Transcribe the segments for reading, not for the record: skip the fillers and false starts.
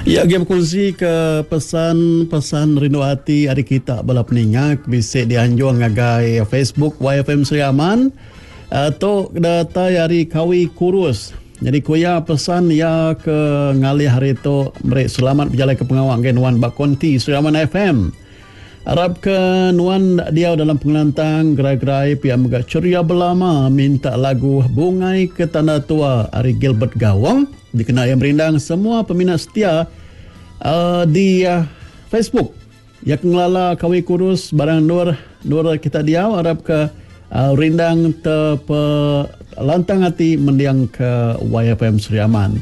Iya agi bekunsi ke pesan-pesan rindu ati ari kita bala peninga ke bisi dianjung ngagai Facebook YFM Sri Aman. Uh, tu datai ari Kawi Kurus. Jadi ku iya pesan iya ke ngalih hari tu meri selamat bejalai ke pengawa ngagai nuan ba konti Sri Aman FM. Arap ke nuan diau dalam pengelantang gerai-gerai pia mega ceria belama minta lagu Bungai ke Tanda Tua ari Gilbert Gawong dikena iya merindang semua peminat setia uh, di uh, Facebook. Ya ke ngelala kawi kurus barang endur endur kita diau arap ke uh, rindang te pe lantang ati mendiang ke YFM Sri Aman.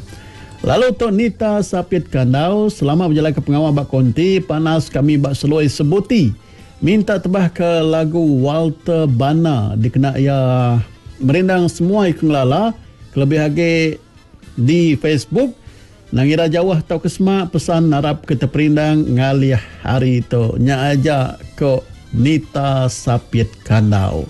Lalu tu Nita Sapit Kandau selama bejalai ke pengawa ba konti panas kami ba Seloi Sebuti minta tebah ke lagu Walter Bana dikena iya merindang semua iya ke ngelala kelebih agi di Facebook nang ira jauh tauka semak pesan arap ke teperindang ngalih hari tu nya aja ko Nita Sapit Kandau.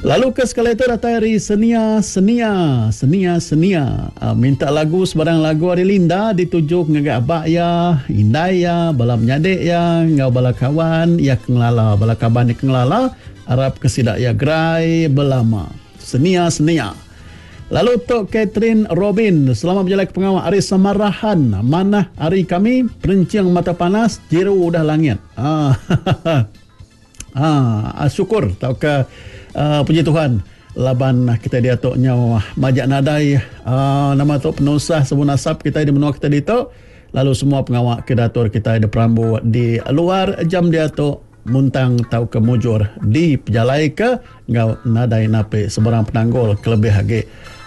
Lalu ke sekali tu datai ari Senia Senia Senia Senia minta lagu sebarang lagu ari Linda dituju ngagai aba iya, indai iya, bala menyadi iya enggau bala kawan iya ke ngelala bala kaban iya ke ngelala arap ke sida iya gerai belama. Senia Senia. Lalu tu Catherine Robin selamat bejalai ke pengawa ari Samarahan manah ari kami perenching mata panas jiru udah langit. Haa. Haa syukur tauka puji Tuhan laban kitai diatu nyau majak nadai aa nama tu penusah sebun asap kitai di menua kitai ditu lalu semua pengawa ke diatur kitai diperambu di luar jam diatu muntang tauka mujur dipejalaika enggau nadai napi sebarang penanggul kelebih agi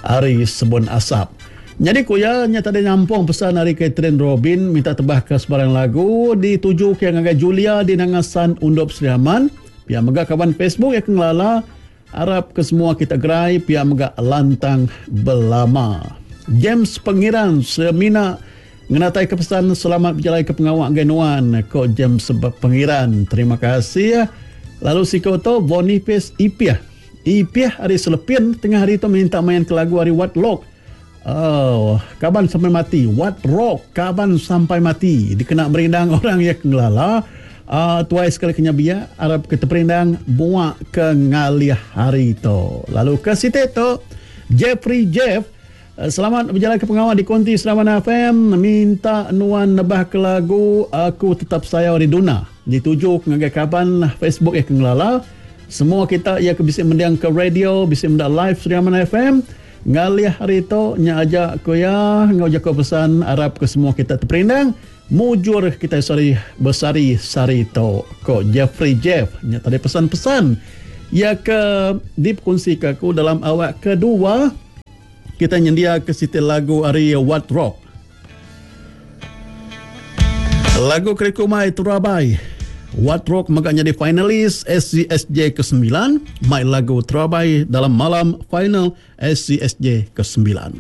ari sebun asap. Nyadi ku iya, nya tadi nyampung pesan ari Catherine Robin minta tebahka sebarang lagu ditujuka iya ngagai Julia di Nanga San Undup Sri Aman. Pia mega kaban Facebook iya ke ngelala arap ke semua kita gerai pia mega lantang belama. James Pengiran semina ngenataika pesan selamat bejalaika pengawa ngagai nuan, ko James Pengiran. Terima kasih. Lalu siku tu Boniface Ipih. Ipih ari Selepin tengah hari tu minta main ke lagu ari Wat Lok. Oh, kaban sampai mati. What rock kaban sampai mati dikena merindang orang iya ke ngelala. Uh, tuai sekali ke biak arap ke teperindang buak ke ngalih hari tu. Lalu ke siti tu Jeffrey Jeff eh, Selamat berjalan ke pengawa di Konti Serawan FM Minta nuan nebah ke lagu Aku Tetap Sayau Ari Duna Dituju ke ngagai kaban Facebook iya ke ngelala Semua kita iya ke bisi mending ke radio Bisi meda live Serawan FM Ngalih hari tu nya aja ku iya enggau jaku pesan arap ke semua kita teperindang mujur kitai sehari besehari sehari tu ko Jeffrey Jeff nya tadi pesan-pesan iya ke dipekunsika aku dalam awak kedua kita nyendiaka siti lagu ari Wat Rock. Lagu Keriku Mai Terabai. Wat Rock mega nyadi finalis SCSJ ke-9 mai lagu Terabai dalam malam final SCSJ ke-9.